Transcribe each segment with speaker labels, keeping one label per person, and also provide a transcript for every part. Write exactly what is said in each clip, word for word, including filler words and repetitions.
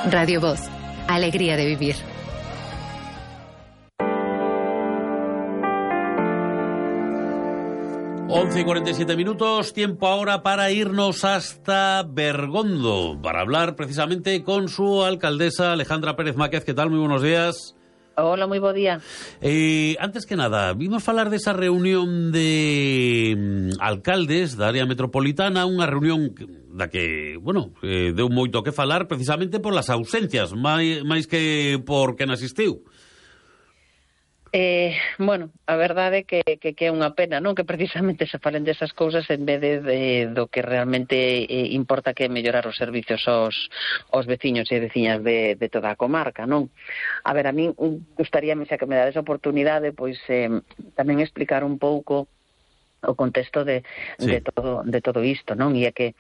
Speaker 1: Radio Voz, alegría de vivir.
Speaker 2: once y cuarenta y siete minutos, tiempo ahora para irnos hasta Bergondo, para hablar precisamente con su alcaldesa Alejandra Pérez Máquez. ¿Qué tal? Muy buenos días.
Speaker 3: Hola, moi bo día.
Speaker 2: Eh, antes que nada, vimos falar desa reunión de mm, alcaldes da área metropolitana, unha reunión da que, bueno, eh, deu moito que falar precisamente por las ausencias, máis, máis que por quen asistiu.
Speaker 3: Eh, bueno, a verdade é que, que, que é unha pena, non? Que precisamente se falen desas cousas en vez de, de do que realmente eh, importa, que é mellorar os servicios aos, aos veciños e veciñas de, de toda a comarca, non? A ver, a mí gustaríame, xa que me dades a oportunidade, pois eh, tamén explicar un pouco o contexto de, sí. de todo de todo isto, non? E é que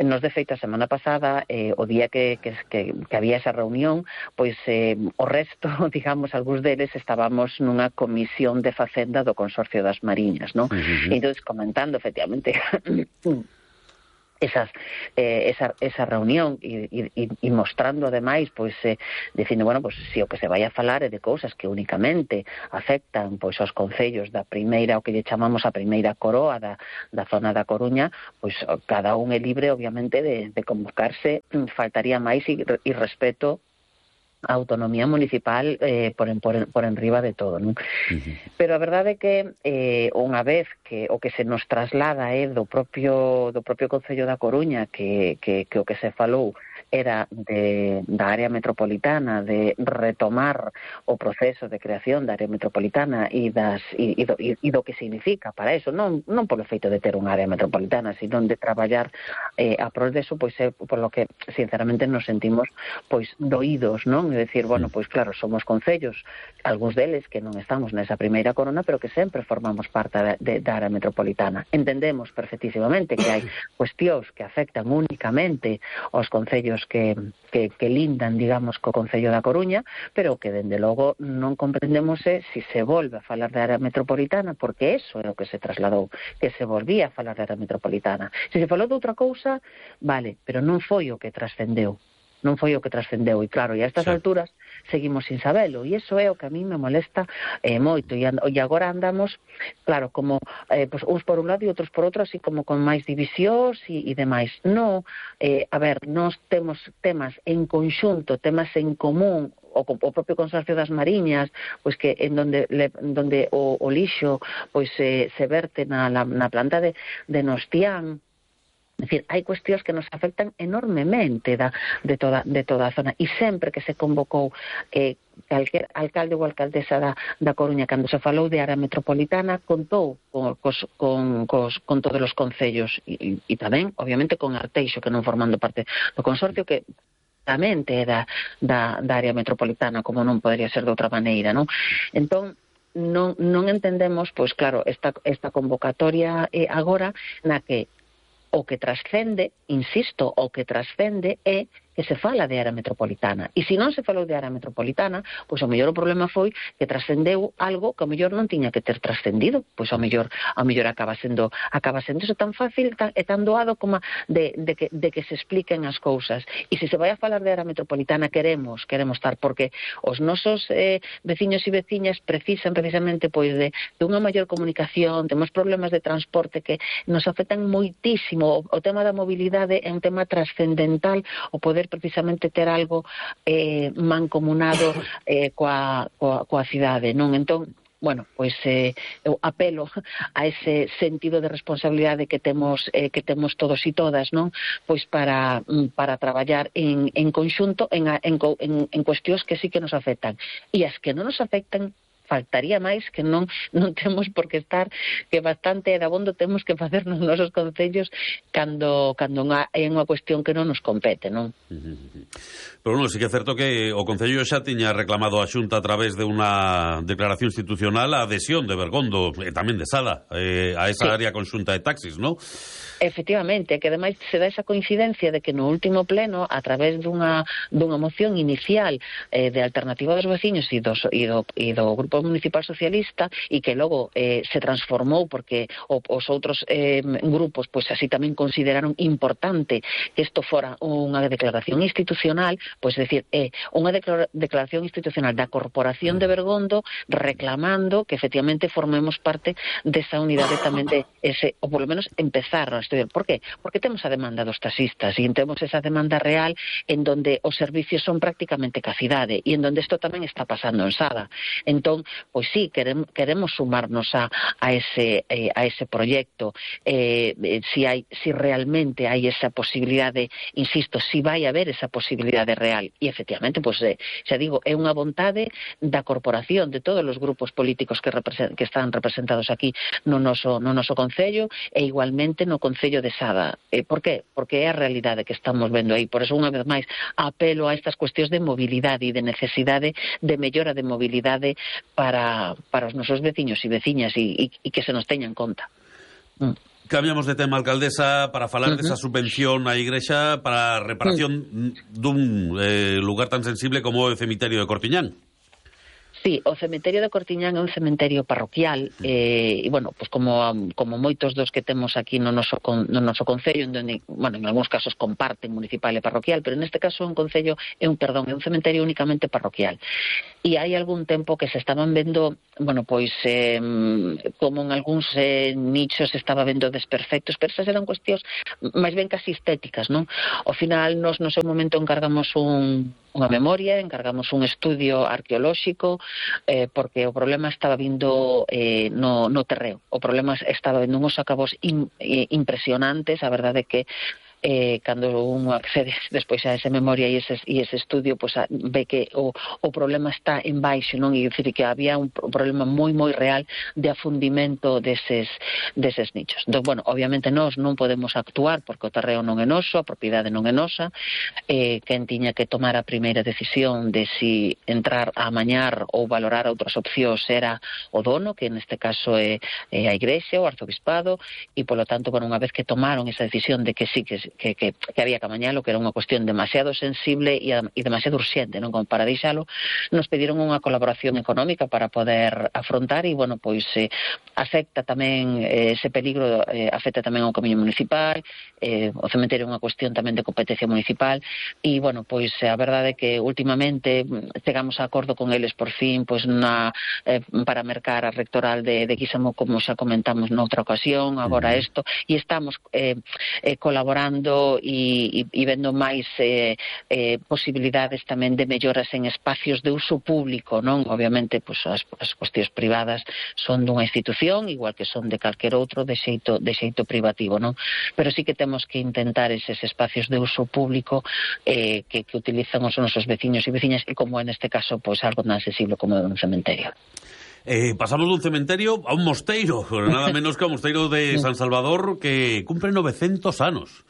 Speaker 3: nos de feita a semana pasada, eh, o día que, que, que, que había esa reunión, pois eh, o resto, digamos, algúns deles estábamos nunha comisión de Facenda do Consorcio das Mariñas, non? Uh-huh. E entón, comentando, efectivamente, esas eh, esa, esa reunión e, e, e mostrando ademais, pois eh, dicindo, bueno, pois se si o que se vai a falar é de cousas que únicamente afectan pois aos concellos da primeira, o que lle chamamos a primeira coroa da, da zona da Coruña, pois cada un é libre obviamente de, de convocarse, faltaría máis e, e respeto a autonomía municipal eh, por, en, por, en, por enriba de todo, non? Uh-huh. Pero a verdade é que eh, unha vez que o que se nos traslada é eh, do propio do propio Concello da Coruña, que, que, que o que se falou era de, da área metropolitana, de retomar o proceso de creación da área metropolitana e, das, e, e, do, e, e do que significa para eso, non, non polo feito de ter unha área metropolitana, sino de traballar eh, a prol deso, pois é por lo que sinceramente nos sentimos pois doídos, non? É dicir, bueno, pois claro, somos concellos, algúns deles que non estamos nesa primeira corona, pero que sempre formamos parte da, de, da área metropolitana. Entendemos perfectísimamente que hai cuestións que afectan únicamente aos concellos que, que, que lindan, digamos, co Concello da Coruña, pero que, dende logo, non comprendemos se si se volve a falar de área metropolitana, porque eso é o que se trasladou, que se volvía a falar de área metropolitana. Se se falou de outra cousa, vale, pero non foi o que trascendeu. non foi o que trascendeu, e claro, e a estas sí. alturas seguimos sin sabelo, e iso é o que a mí me molesta eh, moito, e, and, e agora andamos, claro, como eh, pues, uns por un lado e outros por outro, así como con máis divisións e, e demais. No, eh, a ver, nós temos temas en conxunto, temas en común, o, o propio Consorcio das Mariñas, pois que en donde le, donde o, o lixo pois eh, se verte na, na, na planta de, de Nostián. É dicir, hai cuestións que nos afectan enormemente da, de, toda, de toda a zona, e sempre que se convocou eh, calquer alcalde ou alcaldesa da, da Coruña, cando se falou de área metropolitana, contou con, cos, con, cos, con todos os concellos, e, e tamén, obviamente, con Arteixo, que non formando parte do consorcio, que tamén é da, da, da área metropolitana, como non podería ser de outra maneira, non? Entón, non, non entendemos, pois claro, esta, esta convocatoria eh, agora, na que o que trascende, insisto, o que trascende é que se fala de área metropolitana. E se non se falou de área metropolitana, pois ao mellor o problema foi que trascendeu algo que ao mellor non tiña que ter trascendido. Pois ao mellor, ao mellor acaba sendo acaba sendo eso tan fácil tan, e tan doado como de, de, que, de que se expliquen as cousas. E se se vai a falar de área metropolitana, queremos, queremos estar, porque os nosos eh, veciños e veciñas precisan precisamente pois de, de unha maior comunicación, temos problemas de transporte que nos afectan moitísimo. O, o tema da mobilidade é un tema trascendental, o poder precisamente ter algo eh, mancomunado eh, coa, coa, coa cidade, non? Entón, bueno, pois eh, eu apelo a ese sentido de responsabilidade que temos eh, que temos todos e todas, non? Pois para para traballar en, en conxunto en, en, en, en cuestións que sí que nos afectan, e as que non nos afectan, faltaría máis que non non temos por que estar, que bastante dabondo temos que facer nos nosos concellos cando cando é unha cuestión que non nos compete, non?
Speaker 2: Pero bueno, sí que é certo que o Concello xa tiña reclamado a Xunta a través de unha declaración institucional a adhesión de Bergondo e tamén de Sala eh, a esa sí. área conxunta de taxis, non?
Speaker 3: Efectivamente, que ademais se dá esa coincidencia de que no último pleno, a través dunha, dunha moción inicial eh, de Alternativa dos Veciños e, dos, e, do, e do Grupo Grupo Municipal Socialista e que logo eh, se transformou porque o, os outros eh, grupos pois así tamén consideraron importante que isto fora unha declaración institucional, pois decir, é eh, unha declara declaración institucional da Corporación de Bergondo reclamando que efectivamente formemos parte desa unidade tamén de ese, ou polo menos empezar a estudiar. Por qué? Porque temos a demanda dos taxistas e temos esa demanda real en donde os servicios son prácticamente cacidade e en donde isto tamén está pasando en Sada. Entón, pois sí, queremos, queremos sumarnos a, a, ese, eh, a ese proyecto, eh, si, hai, si realmente hai esa posibilidade, insisto, si vai haber esa posibilidade real. E efectivamente, pois, eh, xa digo, é unha vontade da corporación, de todos os grupos políticos que, que están representados aquí no noso, no noso Concello e igualmente no Concello de Sada. Eh, por qué? Porque é a realidade que estamos vendo aí. Por eso, unha vez máis, apelo a estas cuestións de mobilidade e de necesidade de mellora de mobilidade para, para os nosos veciños e veciñas e, e, e que se nos teña en conta. Mm.
Speaker 2: Cambiamos de tema, alcaldesa, para falar uh -huh. desa subvención á Igrexa para a reparación mm. dun eh, lugar tan sensible como o cemiterio de Cortiñán.
Speaker 3: Sí, o cemiterio de Cortiñán é un cemiterio parroquial eh, e, bueno, pues como, como moitos dos que temos aquí no noso, con, no noso concello, onde, bueno, en algúns casos comparten municipal e parroquial, pero neste caso un concello é un, perdón, é un cemiterio únicamente parroquial. E hai algún tempo que se estaban vendo, bueno, pois eh, como en algúns eh, nichos se estaba vendo desperfectos, pero esas eran cuestións máis ben casi estéticas, non? Ao final, nos no seu momento encargamos un unha memoria, encargamos un estudio arqueolóxico, eh, porque o problema estaba vindo eh, no, no terreo. O problema estaba vindo uns acabos in, eh, impresionantes, a verdade é que eh, cando un accede despois a esa memoria e ese, e ese estudio, pues, a, ve que o, o problema está en baixo, non? E dicir que había un problema moi moi real de afundimento deses, deses nichos. Entón, bueno, obviamente nós non podemos actuar porque o terreo non é noso, a propiedade non é nosa, eh, quen tiña que tomar a primeira decisión de si entrar a amañar ou valorar outras opcións era o dono, que neste caso é, é a Igrexa, o Arzobispado, e polo tanto, bueno, unha vez que tomaron esa decisión de que sí que Que, que, que había que amañalo, que era unha cuestión demasiado sensible e, e demasiado urxente, non, como para deixalo, nos pediron unha colaboración económica para poder afrontar e, bueno, pois eh, afecta tamén eh, ese peligro, eh, afecta tamén ao camiño municipal, eh, o cementerio é unha cuestión tamén de competencia municipal e, bueno, pois a verdade é que últimamente chegamos a acordo con eles por fin, pois na, eh, para mercar a rectoral de, de Guisamo, como xa comentamos noutra ocasión, agora isto, e estamos eh, eh, colaborando e, e, e vendo máis eh, eh, posibilidades tamén de melloras en espacios de uso público, non? Obviamente, pues, as, as cuestións privadas son dunha institución, igual que son de calquer outro, de xeito, de xeito privativo, non? Pero sí que temos que intentar eses espacios de uso público eh, que, que utilizan os nosos veciños e veciñas, e como en este caso, pues, algo tan sensible como un cementerio.
Speaker 2: Eh, pasamos dun cementerio a un mosteiro, nada menos que o mosteiro de San Salvador, que cumpre novecientos anos.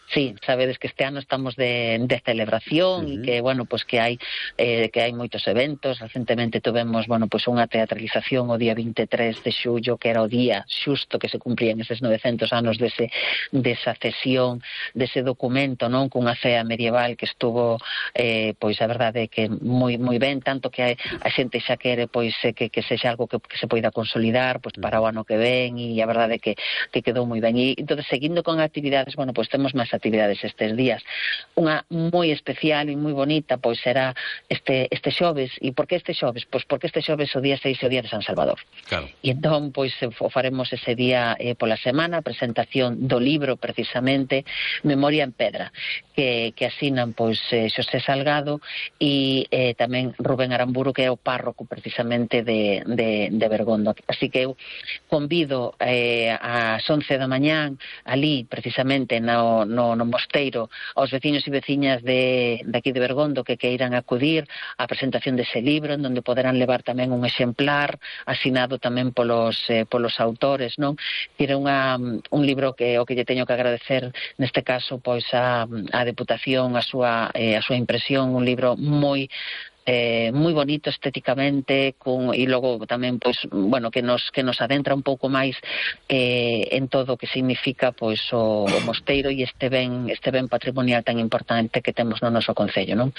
Speaker 3: Sí, sabedes que este ano estamos de, de celebración e uh -huh. que, bueno, pues que hai eh, que hai moitos eventos. Recentemente tuvemos, bueno, pues unha teatralización o día vinte e tres de xullo, que era o día xusto que se cumplían eses novecentos anos dese, desa cesión, dese documento, non? Cunha cea medieval que estuvo, eh, pois a verdade é que moi moi ben, tanto que a xente xa quere, pois, que, que sexa algo que, que se poida consolidar, pois, para o ano que ven, e a verdade é que, que quedou moi ben. E, entón, seguindo con actividades, bueno, pois temos máis actividades estes días. Unha moi especial e moi bonita, pois será este este xoves. E por que este xoves? Pois porque este xoves o día seis é o día de San Salvador.
Speaker 2: Claro.
Speaker 3: E entón, pois, o faremos ese día eh, pola semana, presentación do libro, precisamente, Memoria en Pedra, que, que asinan, pois, eh, Xosé Salgado e eh, tamén Rubén Aramburu, que é o párroco, precisamente, de, de, de Bergondo. Así que eu convido eh, ás once da mañán, ali, precisamente, no, no no mosteiro, aos veciños e veciñas de, de aquí de Bergondo que queiran acudir á presentación dese libro, en donde poderán levar tamén un exemplar asinado tamén polos, eh, polos autores, non? Era unha, un libro que o que lle teño que agradecer neste caso, pois, a, a Deputación, a súa, eh, a súa impresión, un libro moi eh, moi bonito estéticamente, con, e logo tamén, pois, bueno, que nos que nos adentra un pouco máis eh, en todo o que significa, pois, o, o mosteiro e este ben, este ben patrimonial tan importante que temos no noso concello, non?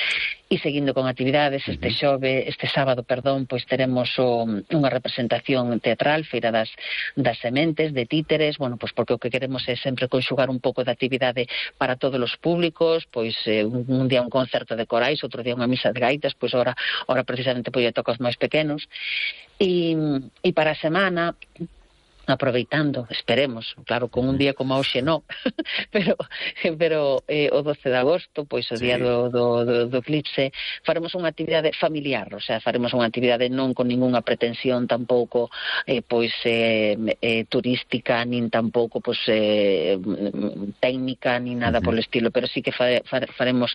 Speaker 3: E seguindo con actividades, este xove, este sábado, perdón, pois teremos o, unha representación teatral, Feira das, das Sementes, de títeres, bueno, pois porque o que queremos é sempre conxugar un pouco de actividade para todos os públicos, pois eh, un, un día un concerto de corais, outro día unha misa de gaitas, pois ora, ora precisamente pois toca os máis pequenos, e, e para a semana, aproveitando, esperemos, claro, con un día como hoxe non, pero pero eh, o doce de agosto, pois o sí. día do, do, do, do eclipse, faremos unha actividade familiar, o sea, faremos unha actividade non con ningunha pretensión tampouco eh, pois eh, eh, turística, nin tampouco pois eh, técnica, nin nada uh-huh. polo estilo, pero sí que fa, fa, faremos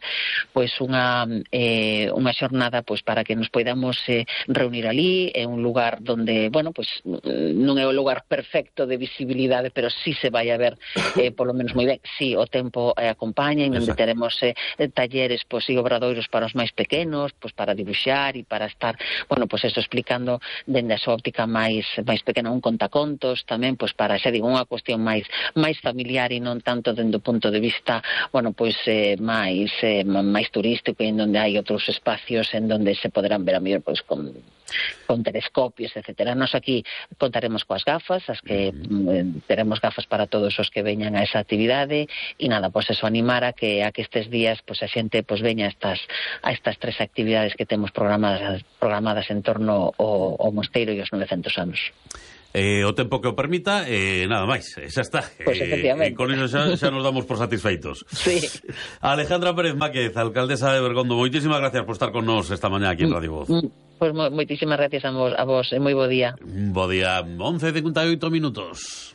Speaker 3: pois unha eh, unha xornada pois para que nos poidamos eh, reunir ali, é un lugar donde, bueno, pois non é o lugar perfecto perfecto de visibilidade, pero sí se vai a ver eh, polo menos moi ben. Sí, o tempo eh, acompaña, e onde teremos eh, talleres pois, e obradoiros para os máis pequenos, pois para dibuixar e para estar, bueno, pois eso, explicando dende a súa óptica máis máis pequena, un contacontos tamén, pois para, xa digo, unha cuestión máis máis familiar e non tanto dende o punto de vista, bueno, pois eh, máis eh, máis turístico, e en donde hai outros espacios en donde se poderán ver a mellor pois con con telescopios, etcétera. Nos aquí contaremos coas gafas, as que mm, teremos gafas para todos os que veñan a esa actividade, e nada, pois eso, animar a que a que estes días pois a xente pois veña a estas a estas tres actividades que temos programadas programadas en torno ao, ao mosteiro e os novecentos anos.
Speaker 2: Eh, o tempo que o permita, eh, nada máis, xa está.
Speaker 3: Pues efectivamente.
Speaker 2: Eh, con iso xa, xa nos damos por satisfeitos.
Speaker 3: Sí.
Speaker 2: Alejandra Pérez Máquez, alcaldesa de Bergondo, moitísimas gracias por estar con nos esta mañá aquí en Radio Voz.
Speaker 3: Pois pues, moitísimas gracias a vos, a vos, e moi bo día.
Speaker 2: Bo día, once e cincuenta e oito minutos.